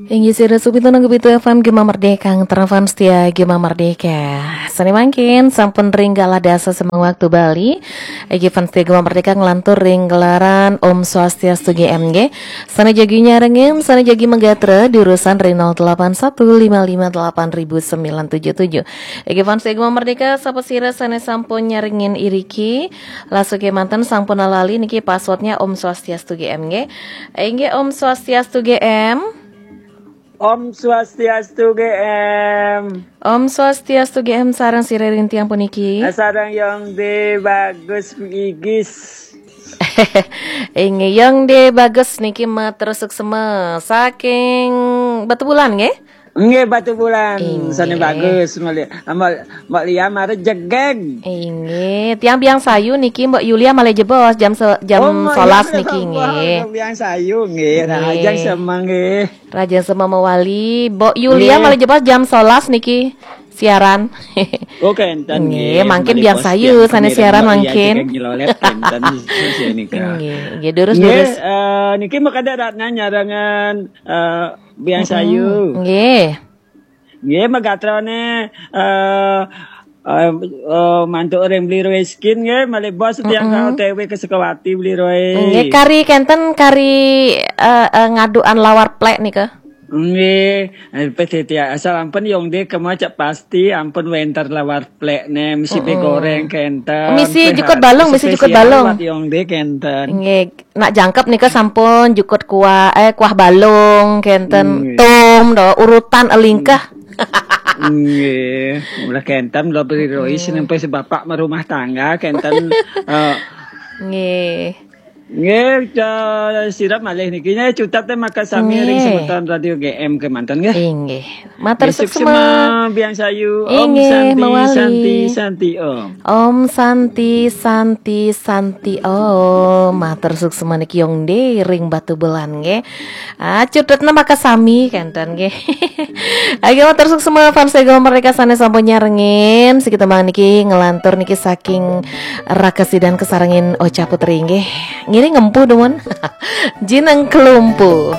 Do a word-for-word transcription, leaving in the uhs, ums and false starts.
Inggih sira sugih nang pitu F M Gema Merdeka, ngeterang fans setia Gema Merdeka. Sane mangkin sampun ring galah dasa semeng waktu Bali. Inggih fans setia Gema Merdeka nglantur ring gelaran Om Swastiastu G M nggih. Sane jagi nyarengin, sane jagi magatra, diurusan ring nol delapan satu lima lima delapan ribu sembilan tujuh tujuh. Inggih fans setia Gema Merdeka, sapa sira sane sampun nyarengin iriki, lasuke manten sampun lali niki passwordnya Om Swastiastu G M nggih. Inggih Om Swastiastu G M. Om Swastiastu G M. Om Swastiastu G M, sareng sira ring tiang puniki. Sareng Yong De Bagus Igis. Inggih Yong De Bagus niki matur suksma saking Batubulan nggih? Nggih, Batubulan. Inggih. Sane bagus, Mbak Li-, Mbak, Mbak Lia mari jegeg. Inggih, tiang Biang Sayu niki Mbak Yulia malih jebos jam se-, jam Oh, Mbak solas Yulia niki nggih. Mbak Biang Sayu nggih. Nah, Nggih. Ajeng semeng nggih. Raja Sema Mawali, Mbok Yulia Nggih. Malih jebos jam solas niki siaran. Oh, kenten Nggih, nggih, mangkin malih Biang bos Sayu tiang sane kami siaran Mbak Lia mangkin. Jegeg nyelolet kenten sesi nika. Nggih, nggih, durus, Nggih, durus. Eh, niki makada Ratna nyarengan, eh, Biang Mm-mm. Sayu. Nggih. Nggih, magatrane, eh, eh, eh, mantuk ring Bli Roy Skin nggih, malih bos tiang Mm-mm. ka O T W ke Sukawati Bli Roy. Nggih, kari kenten, kari, eh, eh, ngaduan lawar plek nika. Nggih, eh, P T T asal ampun Yong De kema cek pasti ampun wenter lawar plek ne, misi Mm-mm. goreng kenten. Misi Peh jukut balung, misi jukut spesial balung. Buat Yong De kenten. Nggih, nak jangkep nika sampun jukut kuah, eh, kuah balung kenten, Nggih. Tum do, urutan elingkah. Nggih, ulah kenten lo Bli Roy Mm. sampai sebapak merumah tangga kenten, eh, Nggih. Nggih, ca-, sira malih niki nya cutet te maka sami ring Nggih. Semeton Radio G M kemanten nggih. Inggih. Matur Nggih, suksma. Suksma, Biang Sayu. Om Inggih, Santi, Mawali. Santi, Santi Om. Om Santi, Santi, Santi Om. Matur suksma niki Yong De ring Batubulan nggih. Ah, cutetna maka sami kenten nggih. Ayo, matur suksma fans Gema Merdeka sane sampun nyarengin. Siki tembang niki nglantur niki saking Raka Sidan kesarengin Ocha Putri nggih. Ngiring ngempu dumun. Jineng kelumpu.